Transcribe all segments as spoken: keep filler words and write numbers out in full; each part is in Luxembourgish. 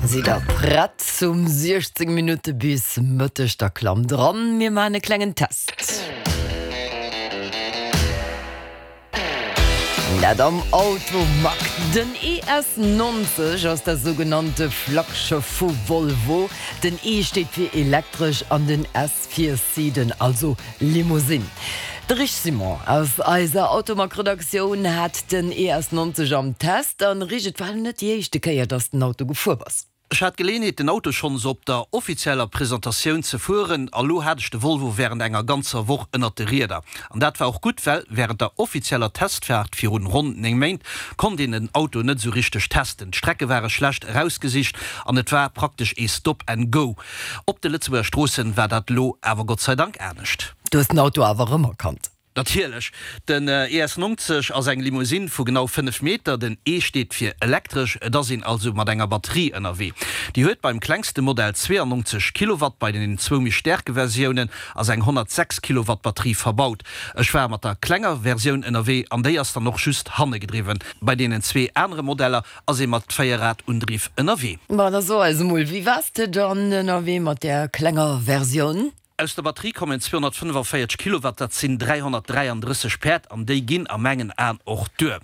Sidd der prett zum siechzéng Minutte bis Mëtteg? Da klammt dran, mir maachen e klengen Test. Dat am Automag. Den E S neunzeg ass dat sougenannte Flaggschëff vu Volvo. Den E steet fir elektresch an den S fir Sedan, also Limousine. De Rich Simon aus eiser Automag-Redaktioun hat den E S neunzeg am Test. An Rich, et war net déi éischte Kéier, dass den Auto gefuer bass. Ech hat d'Geleeënheet, den Auto schonns op der offizieller Presentatioun ze fueren, a lo hat ech de Volvo wärend enger ganzer Woch ënnert de Rieder. An dat war och gutt, well wärend der offizieller Testfaart virun ronn néng Méint konnt een den Auto net esou richteg testen. D'Strecke ware schlecht erausgesicht an et war praktesch ee Stop and Go. Op de Lëtzebuerger Stroossen war dat lo awer Gott sei Dank anescht. Du hues den Auto awer erëmerkannt? Natierlech. Den E S neunzeg ass eng Limousine vu genau fënnef Meter. Den E steet fir elektresch, et ass een also mat enger Batterie ënnerwee. Déi huet beim klengste Modell zweeannonzeg Kilowatt, bei den zwou méi staarke Versiounen ass eng honnertsechs Kilowatt Batterie verbaut. Ech war mat der klenger Versioun ënnerwee an déi ass dann och just hanne gedriwwen. Bei deenen zwee anere Modeller ass ee mat Véierrad-Undriff ënnerwee. Ma da so eis emol, wéi waars de dann ënnerwee mat där klenger Versioun? Aus der Batterie kommen zweehonnertfënnefanvéierzeg Kilowatt, dat sinn dräihonnertdräiandrësseg Päerd, an déi ginn a mengen Aen och duer.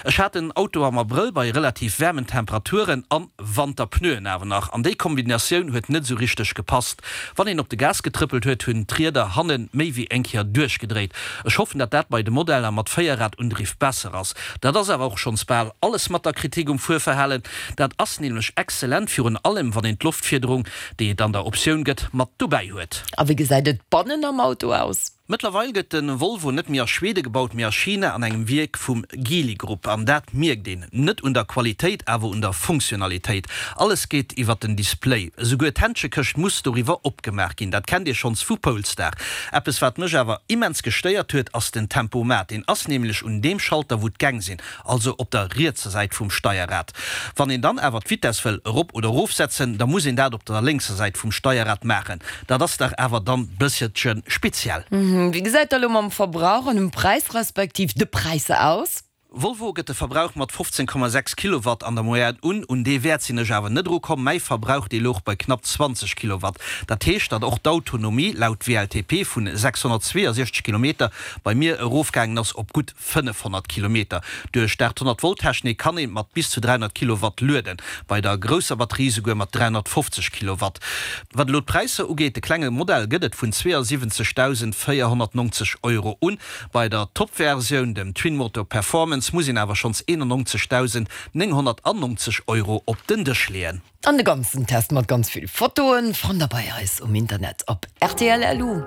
Ech hat den Auto am Abrëll bei relativ waarmen Temperaturen an Wanterpneuen awer nach, an déi Kombinatioun huet net esou richteg gepasst. Wann een op de Gas getrëppelt huet, hunn d'Rieder hanne méi wéi eng Kéier duerchgedréit. Ech hoffen, datt dat bei de Modeller mat Véierradundriff besser ass. Dat ass awer och schonns bal alles mat der Kritik um Fuerverhalen. Dat ass nämlech exzellent, virun allem wann een d'Loftfiederung, déi et an der Optioun gëtt, mat dobäi huet. A wéi gesäit et bannen am Auto aus? Mëttlerweil gëtt de Volvo net méi a Schwede gebaut, mee a China an engem Wierk vum Geely Group. An dat mierkt een. Net un der Qualitéit, awer un der Funktionalitéit. Alles geet iwwer den Display. Esouguer d'Händschekëscht muss doriwwer opgemaach ginn. Dat kennt Dir schonns vu Polestar. Eppes wat mech awer immens gestéiert huet, ass den Tempomat. Deen ass nämlech un deem Schalter wou d'Gäng sinn, also op der rietser Säit vum Steierrad. Wann een dann awer d'Vitess wëll erop oder erof setzen, da muss een dat op der lénkser Säit vum Steierrad maachen. Dat ass dach awer dann bësselche speziell. Wéi gesäit dat elo mam Verbrauch an dem Präis respektiv de Präisser aus? Volvo gëtt de Verbrauch mat fofzéng Komma sechs Kilowatt an der Moyenne un. Un dee Wäert sinn ech awer net erukomm. Mäi Verbrauch, dee louch bei knapp zwanzeg Kilowatt. Dat heescht, datt och d'Autonomie laut W L T P vun sechshonnertzweeënsechzeg Kilometer bei mir erofgaangen ass op gutt fënnefhonnert Kilometer. Duerch d'aathonnert-Volt-Technik kann ee mat bis zu dräihonnert Kilowatt lueden, bei der grousser Batterie souguer mat dräihonnertfofzeg Kilowatt. Wat elo d'Präisser ugeet, de klenge Modell gëtt et vun zweeënsiwwenzegdausendvéierhonnertneunzeg Euro un. Bei der Top-Versioun, dem Twin-Motor Performance, muss een awer schonns eenannonzegdausendnénghonnertannonzeg Euro op den Dësch leeën. An de ganzen Test mat ganz vill Fotoen fannt der bei eis um Internet op R T L L U.